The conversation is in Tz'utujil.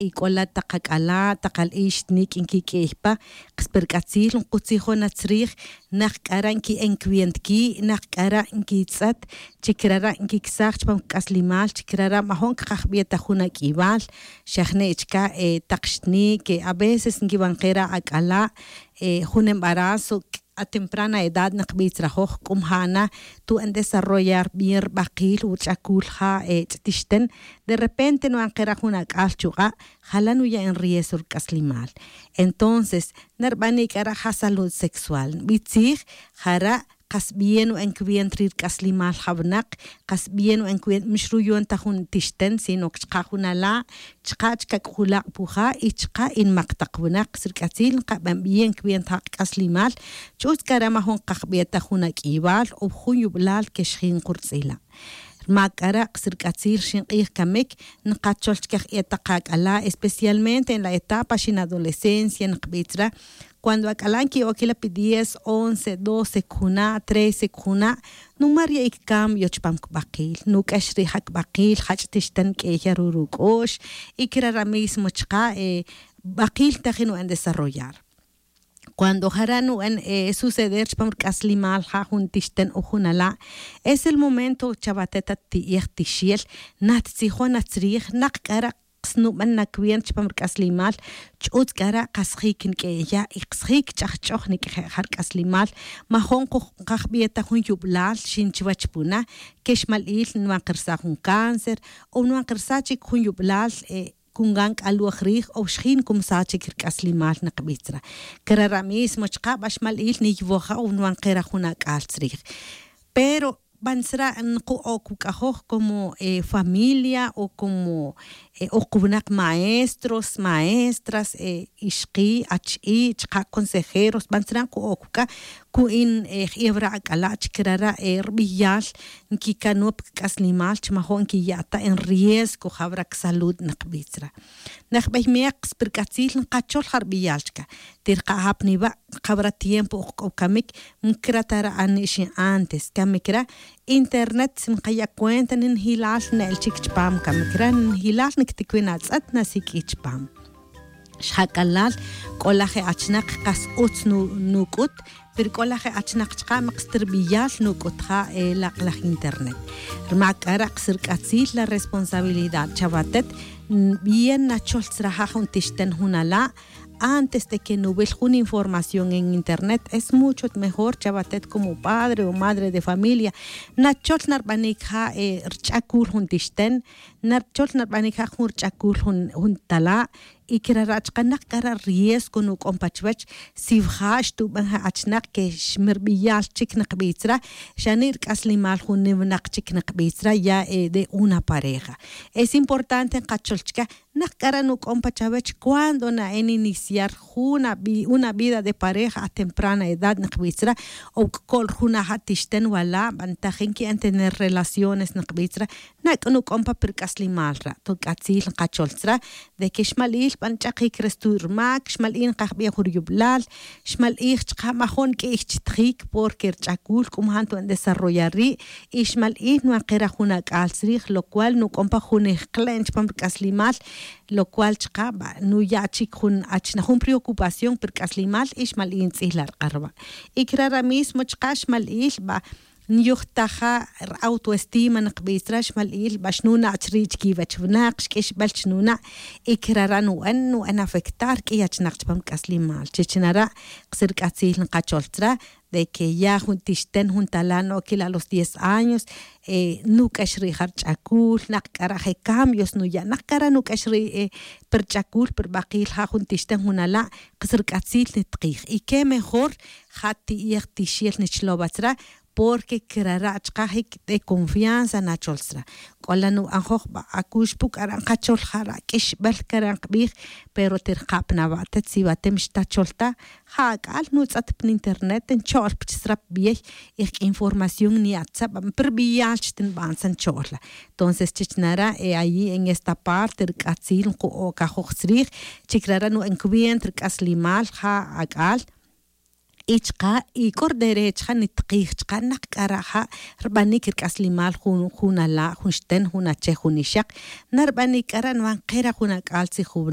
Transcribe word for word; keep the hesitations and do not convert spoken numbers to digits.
Y c'ola tak ac'ala' tak al'ix nik' nquiq'uiy pa. Kas pe rc'atzil nkutzijon na tzrij nak c'ara' nqui'en cwientqui' nak c'ara' nquitz'et chi crara' nquicsaj chupam c'aslimal chi crara' majo'n cakajbi' ta jun aq'uibal. Xa jne' chca' tak xtni' que a veces nquiban kera' ac'ala' jun embarazo a temprana edad nak bich rajoj c'o mja' na tu'en desarrollar bien rbakil o rch'acul ja' ch'tixten. De repente nu'an kera' jun ac'al chuk'a' jala' nuya' en rieso rc'aslimal. Entonces narbanik k'ara' ja' salud sexual nbitzij jara' kas bien nu'en cwient ri rc'aslimal ja' wnak. Kas bien nu'en cwient mix ruyon ta jun tixten sino que chka' jun ala' chka' chka' c'ujulak' puja' y chka' inmak tak wnak sirc'atzil nkaben bien cwient ja' kc'aslimal. Ch'utz' c'a re' majun kajbi' ta jun aq'uibal o jun yublal que xjin kurtz'ila'. Rmac c'a re' sirc'atzil rxin k'ij camic nkachol chca je' tak ac'ala' especialmente en la etapa xin adolescencia nkbitz re'. Cuando ac'ala' nqui'oquila' pi diez once doce cujuna' trece cujuna' numar ya'ic cambio chupam cbakil nuq'uex ri' ja cbakil jach' tixten q'ueya ruruc'ox. Y crara' mismo chka' bakil tajin nu'en desarrollar. Cuando jara' nu'en suceder chupam rc'aslimal ja' jun tixten o jun ala', es el momento chawatet at ti'ej tixel nattzijon atzrij nak c'ara' snuben na cwent chupam rc'aslimal. Ch'utz' c'ara' kasjic nq'ueya' y kasjic ch'ajch'oj niq'ueje' ja rc'aslimal. Majo'n kajbi' ta jun yublal xin chuwech puna que xmal'il nwan kersa jun cáncer o nwan kersa chic jun yublal. Cungan c'aloj rij o xjin cumsa chic rc'aslimal nakbitz re. Crara' mismo chka' ba xmal'il niywoja' o nwan kera' jun ac'al tzrij. Pero bantzra' nku'oc wuk'ajoj como familia o como o kuwnak maestros maestras ixki' achi' chka' consejeros bantzra' nku'oc wuk'a' cu'in j'iwra' ac'ala' chi crara' rbiyal nquicanop c'aslimal chi majo'n nquiya' ta en riesgo jawra' csalud nakbitz re. Najbey me'ak spirc'atzil nkachol ja rbiyal chca. Tirka' ja pniwa' jawra' tiempo ok c'o camic. Mcra ta re' ani' xin antes camic re internet si nkaya' cuenta ninjilal ne'el chic chupam camic re ninjilal nicticuin atz'et nasiq'ui chupam. Xjac'alal c'o laj je achnak kas utz nuc'ut. Pero c'o laj je achnak chka' mak stirbiyal nuc'ut ja' lak'laj internet. Rmac c'ara' ksirc'atzil la responsabilidad chawatet. Bien nachol tzra ja' jun tixten jun ala'. Antes de que nuwil jun información en internet es mucho mejor chawatet como padre o madre de familia. Nachol narbanic ja' rch'acul jun tixten. Nachol narbanic ja' jun rch'acul jun tala'. Y crara' chka' nak c'ara' riesgo nuc'on pa chuwech. Si wja' xtuben je achnak que xmirbiyal chic nakbitz re. Xani' rc'aslimal jun niwnak chic nakbitz re ya de una pareja. Es importante nkachol chca nak c'ara' nuc'on pa chawech cuando na'en iniciar jun una vida de pareja a temprana edad nakbitz re. O cco'l jun aja' tixten wala' bantajin qui'en tener relaciones nakbitz re. Nac'o nuc'on pa pirc'aslimal re' to c'atzil nkachol tzra. De que xmal'il ba nch'akic re stuy' rmac xmal'il nkajbi' jun riyublal. Xmal'ij chka' majo'n q'uiy chi tjic porque rch'acul c'o majan tu'en desarrollar ri'. Y xmal'ij nuwan kera' jun ac'al tzrij lo cual nuc'on pa jun ijkle'n chupam rc'aslimal. Lo cual chka' ba nuya' chic jun achnak jun preocupación pirc'aslimal y xmal'ij ntz'ij la rk'arwa'. Y crara' mismo chka' xmal'ij ba nyujtaja' rautoestima nakbitz re xmal'ij ba xnuna' chri' chiquiwech winak xq'uixbel chnuna'. Y crara' nu'en nu'en afectar q'uiy achnak chupam c'aslimal chich nara' ksirc'atzil nkachol tzra. De que ya jun tixten jun tala' no'quil a los diez años nuc'ex ri' ja rch'acul nak c'ara' je cambios nuya' nak c'ara' nuc'ex ri' pirch'acul pirbakil ja' jun tixten jun ala' ksirc'atzil nitkij y que mejor ja ti'ej tixel nichlow atzra. Porque crara' chka' jic de confianza nachol tzra. C'ola nu'anjoj ba acux pu c'ara' nkachol jara' q'uixbel cara' nkbij. Pero tirka' pa nawa' tet si watem xtachol ta ja ac'al nutz'et pa internet ncho'l pa chi srap biyey. Y jq'uin formación niya' tzabam pirbiyal chi tinban tzan cho'l la. Entonces chich nara' e ayi' en esta parte rc'atzil nku'oc ajoj tzrij. Chi crara' nu'en cuenta rc'aslimal ja ac'al. Y chka' y k'o ri derecho ja' nitikij chka' nak k'ara' ja' rbanic ri c'aslimal jun jun ala' jun xten jun ache jun ixak. Na rbanic k'ara' nvan kera' jun ac'al tzijuvin